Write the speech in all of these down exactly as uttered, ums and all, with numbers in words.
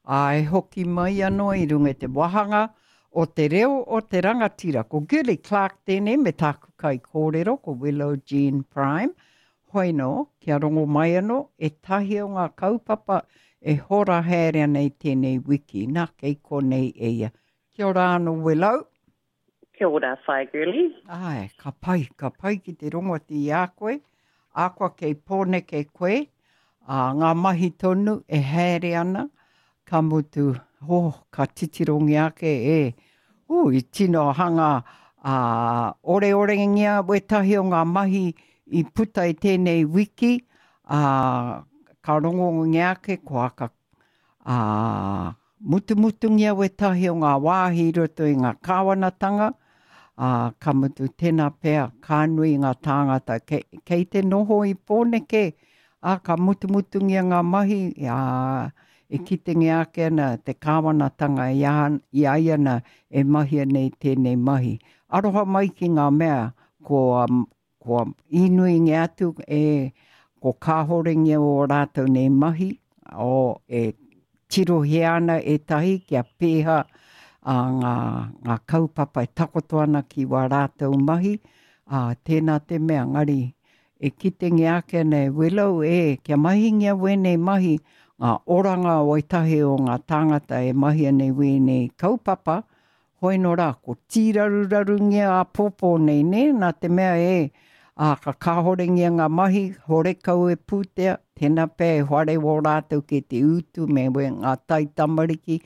Ā, e hoki mai anō i runga i te wāhanga o Te Reo o te Rangatira. Ko Girlie Clarke tēnei me tāku kaikōrero, ko Willow Jean Prime. Hoi nō, kia rongo mai anō ētahi o ngā kaupapa e hora haere ana i tēnei wiki. Nā, kei konei e ia. Kia ora anō, Willow. Kia ora, Whaea Girlie. Āe, ka pai, ka pai ki te rongo atu i a koe. Akoa kei Pōneke koe, ā, ngā mahi tonu e haere ana, ka mutu, oh, ka titirongia ake, e, ū, i tino hanga, ā, oreorengia wētahi o ngā mahi i puta i tēnei wiki, ā, ka rongongia ake kua ka, ā, mutumutungia wētahi o ngā wāhi i roto i ngā kāwanatanga, ā, ka mutu tēnā pea ka nui ngā tāngata kei, kei te noho i Pōneke, ā, ka mutumutungia ngā mahi, ā, e kitengia ake ana te kāwanatanga i a, i a ia ana e mahia nei tēnei mahi. Aroha mai ki ngā mea kua, kua īnuingia atu e, ko kāhorengia ō rātou nei mahi, o, e tirohia ana ētahi kia pēhea a ngā, ngā kaupapa e takoto ana ki wā rātou mahi, ā, tēnā te mea, ngari, e kitengia ake ana e Willow, e, kia mahingia wēnei mahi, ngā oranga o ētahi o ngā tāngata e mahia nei wēnei kaupapa, hoi nō rā, ko tīrarurarungia āpōpō nei, nē, nā te mea e, ā, ka kāhorengia ngā mahi, horekau e pūtea, tēnā pea e whare wō rātou ki te utu me we ngā taitamariki,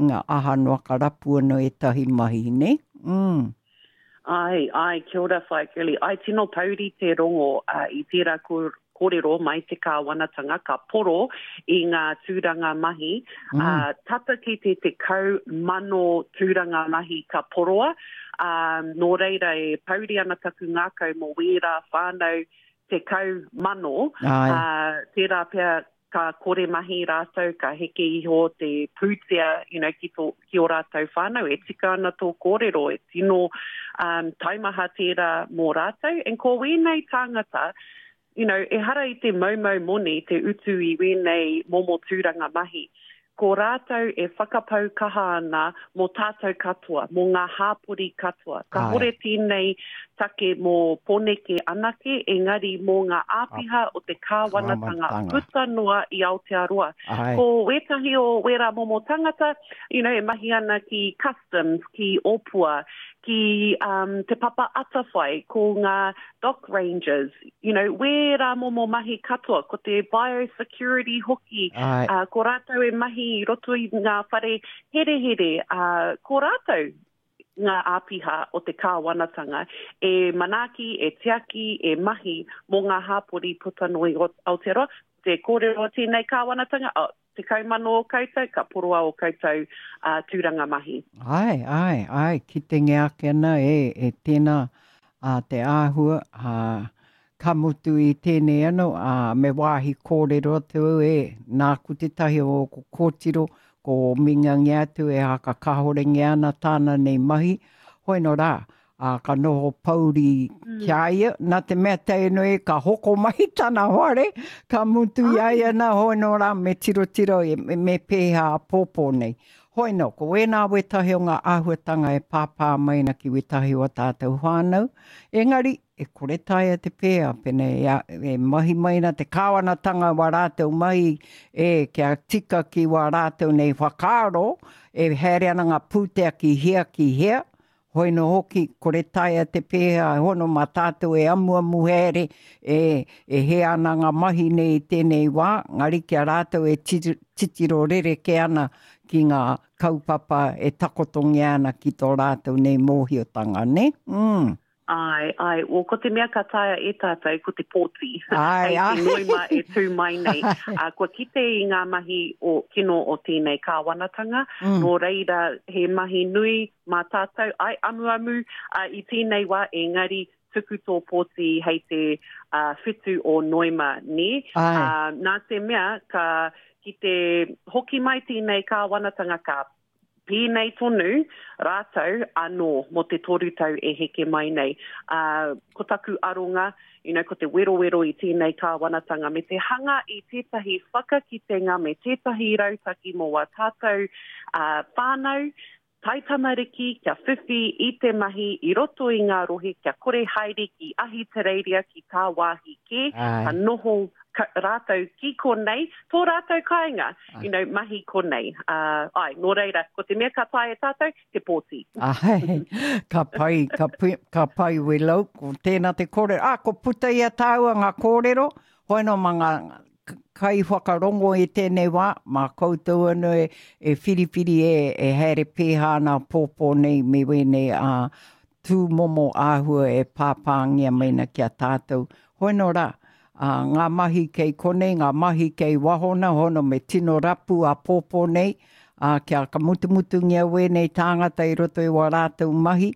ngā aha noa ka rapu anō ētahi mahi, nē? Mm. Ai, ai, kia ora Whaea Girlie. Ai, tino pouri te rongo uh, i tērā kōrero mai te kāwanatanga ka poro i ngā tūranga mahi. Mm. Uh, tata ki te tekau mano tūranga mahi ka poroa. Um, nō reira e pouri ana taku ngākau mō wērā whānau tekau mano. Uh, tērā pea ka kore mahi rātou, ka heke iho te pūtea, you know, ki, tō, ki ō rātou whānau. E tika ana tō kōrero, e tino um, taumaha tērā mō rātou. And ko wēnei tāngata, you know, ehara i te moumou moni te utu i wēnei momo tūranga mahi. Ko rātou e whakapau kaha ana mō tātou katoa, mō ngā hāpori katoa. Kāhore tēnei take mō Pōneke anake, engari mō ngā āpiha o te kāwanatanga puta noa i Aotearoa. Ai. Ko wētahi o wērā momo tangata, you know, e mahi ana ki Customs, ki Opua, ki um, Te Papa Atawhai, ko ngā Dock Rangers, you know, wērā momo mahi katoa, ko te biosecurity hoki, uh, ko rātou e mahi i roto i ngā whare herehere, uh, ko rātou ngā āpiha o te kāwanatanga e manaaki, e tiaki, e mahi mō ngā hāpori puta noa i Aotearoa. Te kōrero a tēnei kāwanatanga, oh, tekau mano o koutou, ka poroa o koutou uh, tūranga mahi. Ai, ai, ai, kitengia ake ana e, e tēnā a te āhua, a, ka mutu i tēnei anō, a, me wāhi kōrero atu au e, nāku tētahi o ōku kōtiro, ko mingangia atu e haka kāhorengia ana tāna nei mahi, hoi nō rā, ā, ka noho pouri ki a ia, nā te mea tēnei ka hoko mai tana whare, ka mutu i a ia nā, hoi nō rā, me tirotiro, me, me pēhea āpōpō nei. Hoi nō, ko wēnā wētahi o ngā āhuatanga e pāpā mai ana ki wētahi o ā tātou whānau, engari, e kore taea te pēhea, pēnei e, e mahi mai ana te kāwanatanga wā rātou mahi, e, kia tika ki wā rātou nei whakaaro, e haere ana ngā pūtea ki hea ki hea, hoi nō hoki, kore taea te pēhea, e hono mā tātou e amuamu haere, e, e hē ana ngā mahi nei i tēnei wā, ngari ki a rātou e titiro rerekē ana ki ngā kaupapa e takotongia ana ki tō rātou nei mōhiotanga, nē? Mm. Āe, āe. Well, ko te mea ka taea e tātou, ko te pōti. Āe, āe. Hei te Noema e tū mai nei. Ā, kua kite i ngā mahi o, kino o tēnei kāwanatanga, mm. nō reira he mahi nui mā tātou, āe, amuamu uh, i tēnei wā, engari tuku tō pōti hei te uh, whitu o Noema, nē? Āe. Uh, nā te mea, ka, ki te hoki mai tēnei kāwanatanga, ka Pēnei tonu rātou anō mō te toru tau e heke mai nei. Uh, ko taku aronga, you know, ko te werowero i tēnei kāwanatanga me te hanga i tētahi whakakitenga me tētahi rautaki mō wā tātou uh, whānau, taitamariki kia whiwhi i te mahi i roto i ngā rohe kia kore haere ki Ahitereiria ki tāwāhi kē, ka noho ka, rātou ki konei, tō rātou kāinga, you know, mahi konei. Uh, ai, nō reira, ko te mea ka tae e tātou, te pōti. Ai, ka pai, ka, pi, ka pai Willow, ko tēnā te kōrero. Ah, ko puta i a tāua ngā kōrero, hoeno ma ngā kai whakarongo i tēnei wā, mā koutou anō e, e whiriwhiri e, e haere pēhā ana pōpō nei me wēnei a tūmomo āhua e pāpāngia meina ki a tātou. Hoeno rā, a, ngā mahi kei konei, ngā mahi kei wahona, hono me tino rapu a pōpō nei, a, kia ka mutumutungia wēnei tāngata i roto i wā rātou mahi,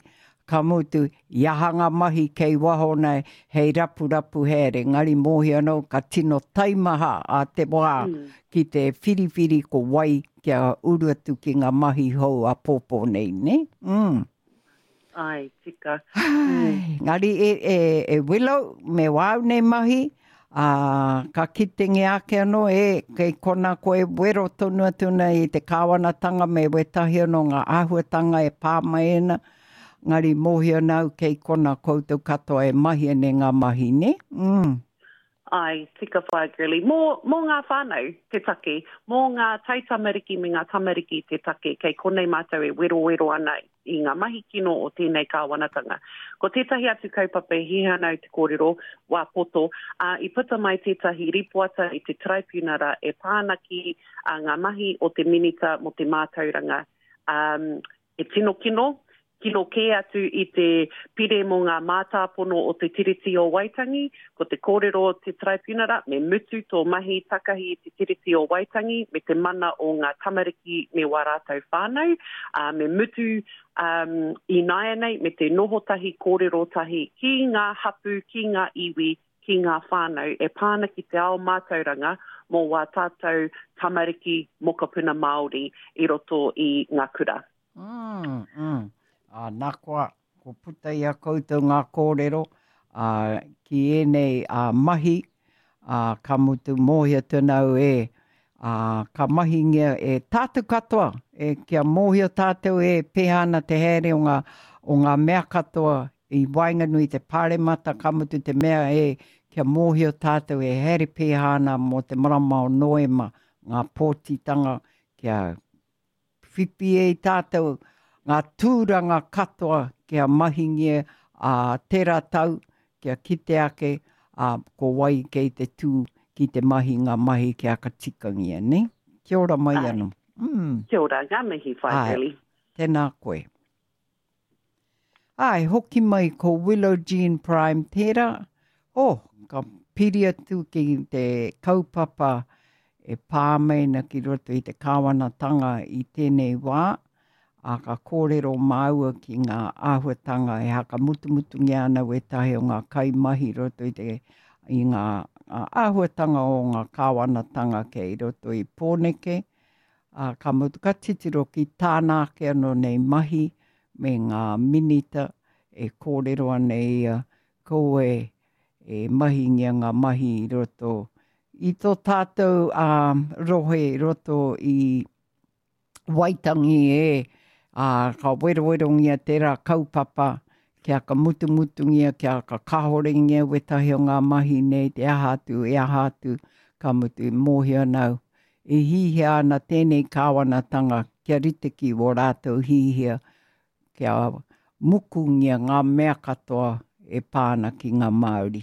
ka mutu, i aha ngā mahi kei wahona hei rapu rapu haere, ngari mōhi anō ka tino taimaha a te wā mm. ki te whiriwhiri ko wai kia uru atu ki ngā mahi hou a pōpō nei, ne? Mm. Ai, tika. Ai, ngari e, e, e Willow, me wāu nei mahi, a, ka kitenge ake anō e, kei kona koe wero tonu atu nei i te kāwanatanga me wetahi anō ngā āhuatanga e pā mai ana, ngari mōhio nau kei kona koutou katoa e mahi ane ngā mahi, ne? Mm. Ai, tika whaea Girlie. Mō, mō ngā whānau te take, mō ngā taitamariki me ngā tamariki te take, kei konei mātou e werowero ana i ngā mahi kino o tēnei kāwanatanga. Ko tētahi atu kaupapa e hiahia ana au te kōrero, wā poto, uh, i puta mai tētahi ripoata i te tribunara e pā ana ki uh, ngā mahi o te minita mō te mātauranga. Um, e tino kino, kino kē atu i te pire mō ngā mātāpono o te Tiriti o Waitangi, ko te kōrero o te tribunara, me mutu tō mahi takahi i te Tiriti o Waitangi, me te mana o ngā tamariki me wā rātou whānau, uh, me mutu um, i nāianei, me te noho tahi, kōrero tahi ki ngā hapu, ki ngā iwi, ki ngā whānau, e pāna ki te ao mātauranga mō wā tātou tamariki mokopuna Māori i roto i ngā kura. Mm, mm. A, nā koa, ko puta i a koutou ngā kōrero a, ki ēnei a, mahi, a, ka mutu mōhio tēnau e, a, ka mahingia e tātou katoa, e, kia mōhio tātou e pēhā ana te haere o ngā, o ngā mea katoa i waenganui te pāremata, ka mutu te mea e, kia mōhio tātou e haere pēhā ana mō te marama o Noema, ngā pōtitanga, kia whiwhi e i tātou ngā tūranga katoa kia mahingia a tērā tau, kia kite ake a, ko wai kei te tū ki te mahi ngā mahi kia ka tikangia, ne? Kia ora mai Ai. anō. Mm. Kia ora, ngā mihi whaea Ai. Girlie. Tēnā koe. Ai, hoki mai ko Willow Jean Prime tērā. Oh, ka piri atu ki te kaupapa e pā mai na ki roto i te kāwanatanga i tēnei wā, a ka kōrero māua ki ngā āhuatanga e hakamutumutungia ana wētahi o ngā kaimahi roto i te i ngā āhuatanga o ngā kāwanatanga kei roto i Pōneke, a, ka mutu ka titiro ki tāna ake anō nei mahi me ngā minita e kōrero ana ia ko e, e mahingia ngā mahi i roto i tō tātou um, rohe i roto i Waitangi e, a, ka werowerongia tērā kaupapa, kia ka mutumutungia, kia ka kahorengia wetahi o ngā mahi nei, te aha atu, e aha atu, ka mutu i mōhio nau. E hihia ana tēnei kāwanatanga kia rite ki wō rātou hihia, kia mukungia ngā mea katoa e pāna ki ngā Māori.